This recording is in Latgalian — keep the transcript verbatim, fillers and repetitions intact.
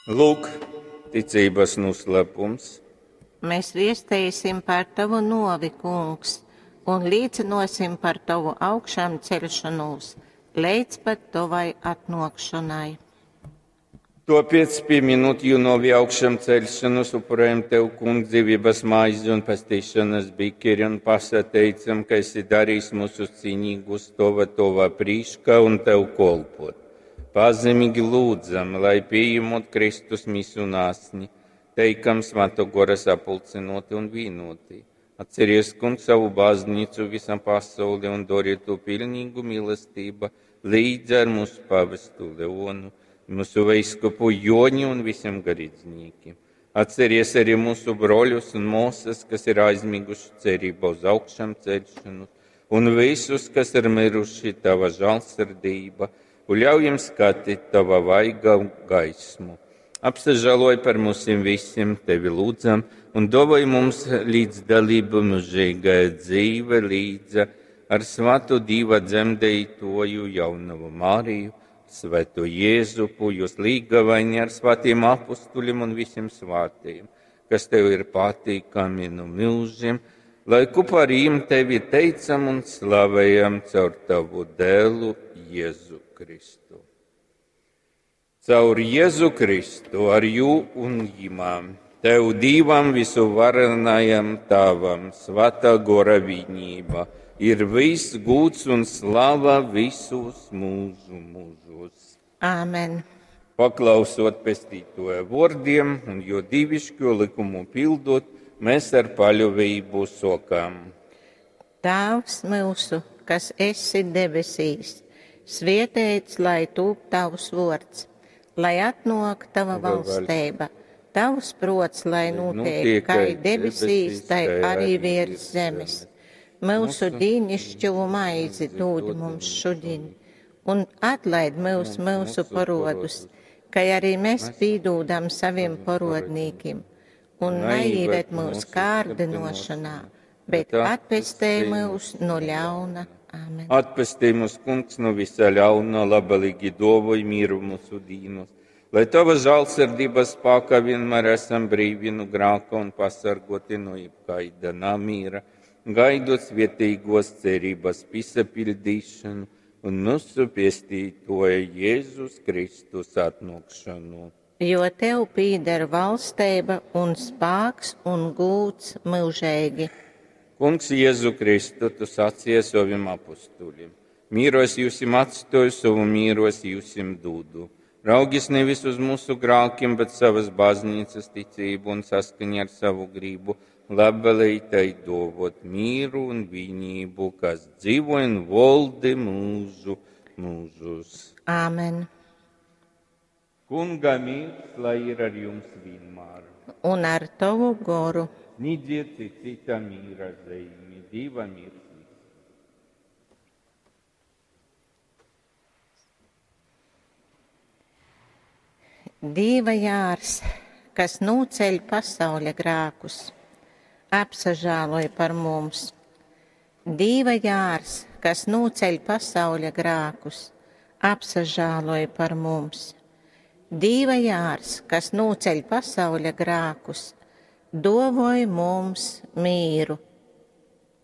Lūk, ticības noslēpums. Mēs viesteisim par tavu novi, Kungs, un līcinosim par tavu augšām ceļšanos līdz pat tavai atnākšanai. Tāpēc, pieminot jū novi augšām ceļšanos, upurējam Tev, Kungs, dzīvības maizi un pestīšanas bikeri un pasateicam, ka esi darījis mūsu cīnīgus tova, tova prīškā un Tev kolpot. Pazemīgi lūdzam, lai pieņemot Kristus misu un asni, teikam Svēto Gora sapulcinoti un vienoti. Atceries, Kungs, savu baznīcu visam pasauli un dori to pilnīgu mīlestību līdz ar mūsu pavestu Leonu, mūsu veiskupu Joni un visiem garīdzniekiem. Atceries arī mūsu broļus un māsas, kas ir aizmiguši cerībā uz augšām celšanu, un visus, kas ir miruši tava žēlsirdība, un ļauj jiem skatīt tava vaiga gaismu. Apsažāloj par mums visiem, tevi lūdzam, un dāvāj mums līdzdalību mūžīgajā dzīve līdz ar Svēto Dieva dzemdētoju jaunavu Mariju, Svēto Jēzupu, jūs līgavaini ar svētiem apustuļiem un visiem svētajiem, kas tev ir patīkami no mūžiem, lai kopā ar viņiem tevi teicam un slavējam caur tavu dēlu Jēzu Kristu. Caur Jēzu Kristu, ar jū un jimām, tev Dievam visuvarenajam Tēvam, svētā gora vienība, ir viss gūts un slava visus mūžu mūžos. Āmen. Paklausot pestītoja vārdiem un jo dievišķo likumu pildot, mēs ar paļāvību sokām. Tēvs mūsu, kas esi debesīs, svietēts, lai tūp tavs vārds, lai atnāk tava valstība, tavs prots, lai notiek, kā debesīs, tai arī virs zemes. Mūsu dīnišķo maizi dod mums šodien, un atlaid mūs mūsu parodus, kā arī mēs pīdūdam saviem parodnīkim, un neieved mūs kārdinošanā, bet atpestē mūs no ļauna. Āmen. Atpestī mūs, Kungs, no visa ļauna, labvēlīgi dāvāj mieru mūsu dīnos, lai tava žēlsirdības spēkā vienmēr esam brīvi no grēka un pasargoti no jebkaida namīra, gaidot svētīgos cerības piepildīšanu un mūsu pestītoja Jēzus Kristus atnākšanu. Jo tev pīder valstība un spēks un gūts mūžīgi. Kungs Jēzu Kristu, tu sacīji saviem apustuļiem: Mīros jūsim atstoju, savu mīros jūsim dūdu. Raugis nevis uz mūsu grēkiem, bet savas baznīcas ticību un saskaņā ar savu gribu, labvēlīgi tai dovot mieru un vienību, kas dzīvo un valdi mūžu mūžus. Āmen. Kunga miers, lai ir ar jums vienmēr. Un ar tavu goru. Sniedziet cita mīra zīmi, Dieva miers. Dieva jārs, kas nūceļ pasauļa grēkus, apsažāloj par mums. Dieva jārs, kas nūceļ pasauļa grēkus, apsažāloj par mums. Dieva jārs, kas nūceļ pasauļa grēkus, dovoj mums mīru.